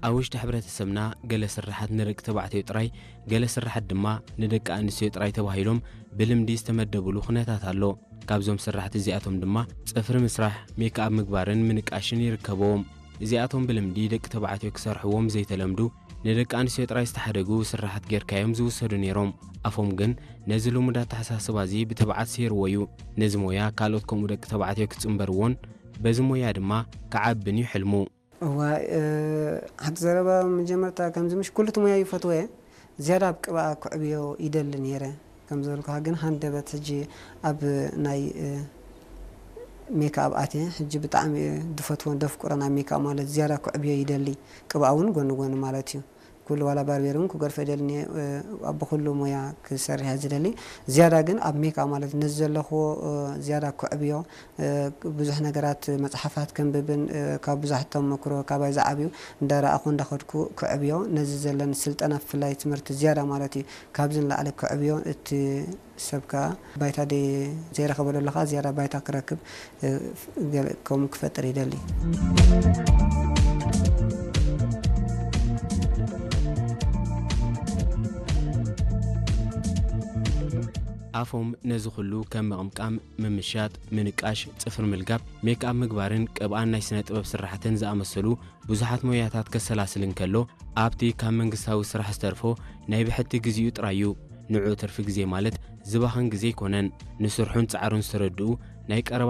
ኣብ ውሽጢ ሕብረተሰብና ገለ ስራሓት ንደቂ ተባዕትዮ ጥራይ፣ ገለ ስራሓት ድማ ንደቂ ኣንስትዮ ጥራይ ተባሂሎም ብልምዲ ዝተመደብሉ ኩነታት ኣሎ። ካብዞም ስራሕቲ እዚኣቶም ድማ ጽፍሪ ምስራሕ፣ ሜክኣፕ ምግባርን ምንቃሽን ይርከብዎም። እዚኣቶም ብልምዲ ደቂ ተባዕትዮ ክሰርሕዎም ዘይተለምዱ፣ ንደቂ ኣንስትዮ ጥራይ ዝተሓደጉ ስራሓት ጌርካዮም ዝውሰዱ ነይሮም። ኣፎም ግን ነዚ ልሙድ ኣተሓሳስባ እዚ ብትብዓት ሰይርዎ እዩ። ነዚ ሞያ ካልኦት ከምኡ ደቂ ተባዕትዮ ክጽንበርዎን በዚ ሞያ ድማ ክዓብን እዩ ሕልሙ። እዋ፣ እ፣ ሓንቲ ዘረባ መጀመርታ ከምዚ ምሽ ኩሉ እቲ ሞያ ይፈትዎ እየ። ዝያዳ ኣብ ቅብኣ ክዕብዮ ይደሊ ነይረ። ከም ዝበልኩኻ ግን ሃንደበት ሕጂ ኣብ ናይ፣ እ፣ ሜክኣፕ ኣትየ። ሕጂ ብጣዕሚ እየ ዝፈትዎን ዘፍቅሮን ኣብ ሜክኣፕ ማለት ዝያዳ ክዕብዮ ይደሊ። ቅብኣ እውን ጎኒ ጎኒ ማለት እዩ። ኩሉ ዋላ ባርቤር እውን ክገርፎ ይደሊ እየ፣ እ፣ ኣብ ብኩሉ ሞያ ክሰርሕ እየ ዝደሊ። ዝያዳ ግን ኣብ ሜክኣፕ ማለት ነዚ ዘለኽዎ፣ እ፣ ዝያዳ ክዕብዮ፣ እ፣ ብዙሕ ነገራት መጽሓፋት ከንብብን፣ እ፣ ካብ ብዙሓት ተመክሮ ካባይ ዝዓብዩ እንዳረኣኹ እንዳኸድኩ ክዕብዮ፣ ነዚ ዘለኒ ስልጠና ብፍላይ ትምህርቲ ዝያዳ ማለት እዩ። ካብዚ ንላዕሊ ክዕብዮ እቲ ሰብ ከኣ ባይታ ደይ ዘይረኸበ ዘሎ ከኣ ዝያዳ ባይታ ክረክብ፣ እ፣ ገለ ከምኡ ክፈጥር ይደሊ። ኣፎም ነዚ ኩሉ ከም ምቕምቃም፣ ምምሻጥ፣ ምንቃሽ፣ ጽፍሪ ምልጋብ፣ ሜክኣፕ ምግባርን ቅብኣን ናይ ስነ ጥበብ ስራሕትን ዝኣመሰሉ ብዙሓት ሞያታት ከሰላስል እንከሎ፣ ኣብቲ ካብ መንግስታዊ ስራሕ ዝተርፎ ናይ ብሕቲ ግዜኡ ጥራይ እዩ። ንዑ ትርፊ ግዜ ማለት ዝባኽን ግዜ ኣይኮነን። ንስርሑን ጻዕሩን ዝተረድኡ ናይ ቀረባ